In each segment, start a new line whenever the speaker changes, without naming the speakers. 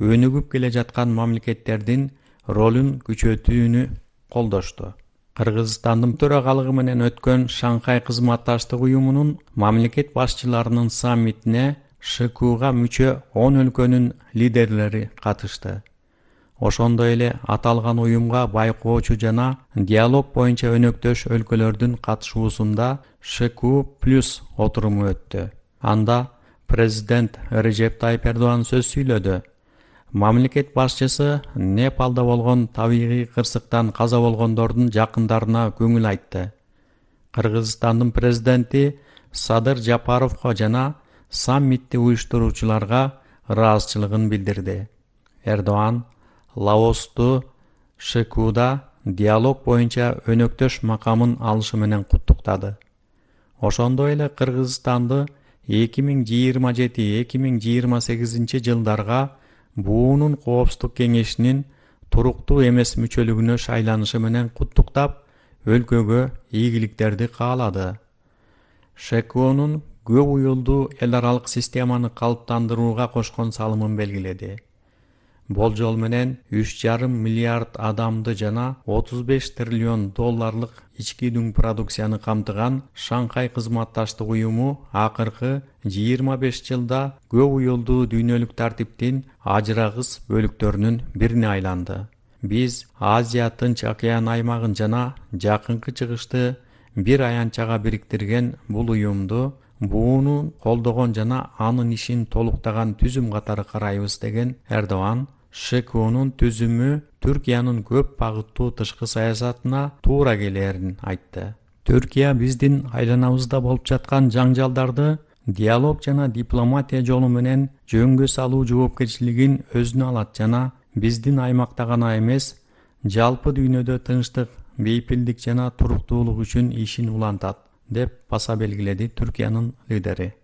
өнүгүп келе жаткан мамлекеттердин ролун күчөтүүнү колдошту. Кыргызстандын төрагалыгы менен өткөн Шанхай кызматташтык уюмунун мамлекет башчыларынын саммитине ШКУга мүчө 10 өлкөнүн лидерлери катышты. Ошондой эле аталган уюмга байкоочу жана диалог боюнча өнөктөш өлкөлөрдүн катышуусунда ШКУ+ отуруму өттү. Анда президент Режеп Тайип Эрдоган сөз сүйлөдү. Мамлекет башчысы Непалда болгон табигый кырсыктан каза болгондордун жакындарына көңүл айтты. Кыргызстандын президенти Садыр Жапаровго жана саммитти уюштуруучуларга ыраазычылыгын билдирди. Эрдоган Лаосту ШКУда диалог боюнча өнөктөш макамын алышы менен куттуктады. Ошондой эле Кыргызстанды 2027-2028 жылдарга буунун коопсуздук кеңешинин туруктуу эмес мүчөлүгүнө шайланышы менен куттуктап, өлкөгө ийгиликтерди каалады. ШКУнун көп уюлдуу эл аралык системаны калыптандырууга кошкон салымын белгиледи. Болжол менен 3,5 миллиард адамды жана 35 триллион долларлык ички дүң продукцияны камтыган Шанхай кызматташтык уюму акыркы 25 жылда көп уюлдуу дүйнөлүк тартиптин ажырагыс бөлүктөрүнүн бирине айланды. Биз Азия Тынч океан аймагын жана Жакынкы Чыгышты бир аянтчага бириктирген бул уюмду бууну колдогон жана анын ишин толуктаган түзүм катары карайбыз деген Эрдоган ШКУнун түзүмү Түркиянын көп багыттуу тышкы саясатына туура келерин айтты. Түркия биздин айланабызда болуп жаткан жаңжалдарды диалог жана дипломатия жолу менен жөнгө салуу жоопкерчилигин өзүнө алат жана биздин аймакта гана эмес, жалпы дүйнөдө тынчтык, бейпилдик жана туруктуулук үчүн ишин улантат, деп баса белгиледи Түркиянын лидери.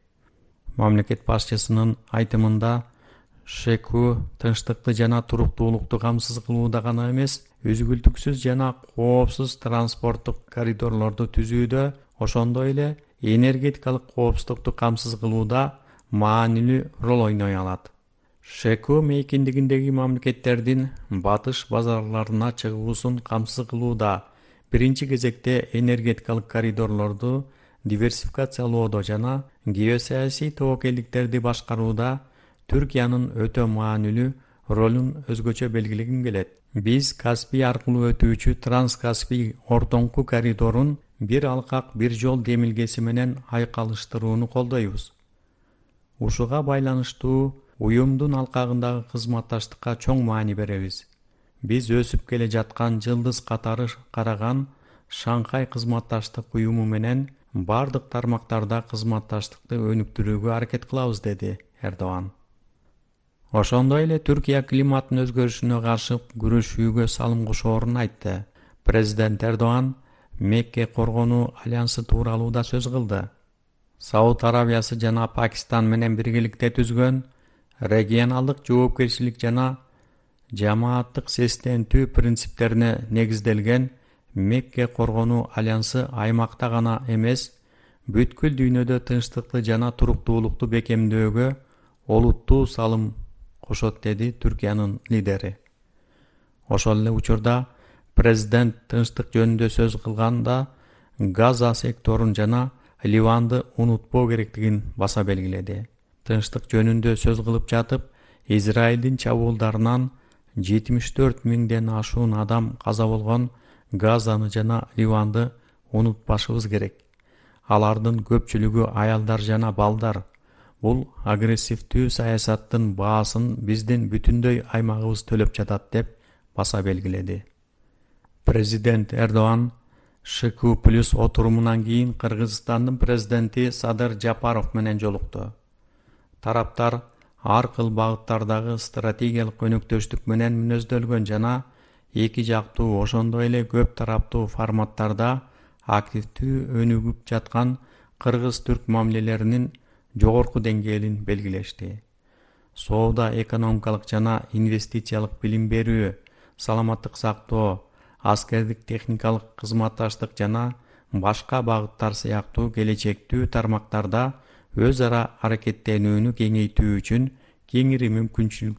Мамлекет башчысынын айтымында ШКУ тынчтыкты жана туруктуулукту камсыз кылууда гана эмес, үзгүлтүксүз жана коопсуз транспорттук коридорлорду түзүүдө, ошондой эле энергетикалык коопсуздукту камсыз кылууда маанилүү роль ойной алат. ШКУ мейкиндигиндеги мамлекеттердин батыш базарларына чыгуусун камсыз кылууда, биринчи кезекте энергетикалык коридорлорду диверсификациялоодо жана геосаясий тобокелдиктерди башкарууда Түркиянын өтө маанилүү ролун өзгөчө белгилегим келет. Биз Каспий аркылуу өтүүчү Транскаспий ортоңку коридорун бир алкак бир жол демилгеси менен айкалыштырууну колдойбуз. Ушуга байланыштуу уюмдун алкагындагы кызматташтыкка чоң маани беребиз. Биз өсүп келе жаткан жылдыз катары караган Шанхай кызматташтык уюму менен бардык тармактарда кызматташтыкты өнүктүрүүгө аракет кылабыз, деди Эрдоган. Ошондой эле Түркия климаттын өзгөрүшүнө каршы күрөшүүгө салым кошоорун айтты. Президент Эрдоган Мекке коргонуу альянсы тууралуу да сөз кылды. Сауд Арабиясы жана Пакистан менен биргеликте түзгөн регионалдык жоопкерчилик жана жамааттык сестентүү принциптерине негизделген Мекке коргонуу альянсы аймакта гана эмес, бүткүл дүйнөдө тынчтыкты жана туруктуулукту бекемдөөгө олуттуу салым кошот, деди Түркиянын лидери. Ошол эле учурда президент тынчтык жөнүндө сөз кылганда Газа секторун жана Ливанды унутпоо керектигин баса белгиледи. Тынчтык жөнүндө сөз кылып жатып, Израилдин чабуулдарынан 74 миңден ашуун адам каза болгон Газаны жана Ливанды унутпашыбыз керек. Алардын көпчүлүгү аялдар жана балдар. Бул агрессивдүү саясаттын баасын биздин бүтүндөй аймагыбыз төлөп жатат, деп баса белгиледи. Президент Эрдоган ШКУ+ отурумунан кийин Кыргызстандын президенти Садыр Жапаров менен жолукту. Тараптар ар кыл багыттардагы стратегиялык өнөктөштүк менен мүнөздөлгөн жана эки жактуу, ошондой эле көп тараптуу форматтарда активдүү өнүгүп жаткан кыргыз-түрк мамилелеринин жогорку деңгээлин белгилешти. Соода, экономикалык жана инвестициялык билим берүү, саламаттык сактоо, аскердик техникалык кызматташтык жана башка багыттар сыяктуу келечектүү тармактарда өз ара аракеттенүүнү кеңейтүү үчүн кеңири мүмкүнчүлүктөр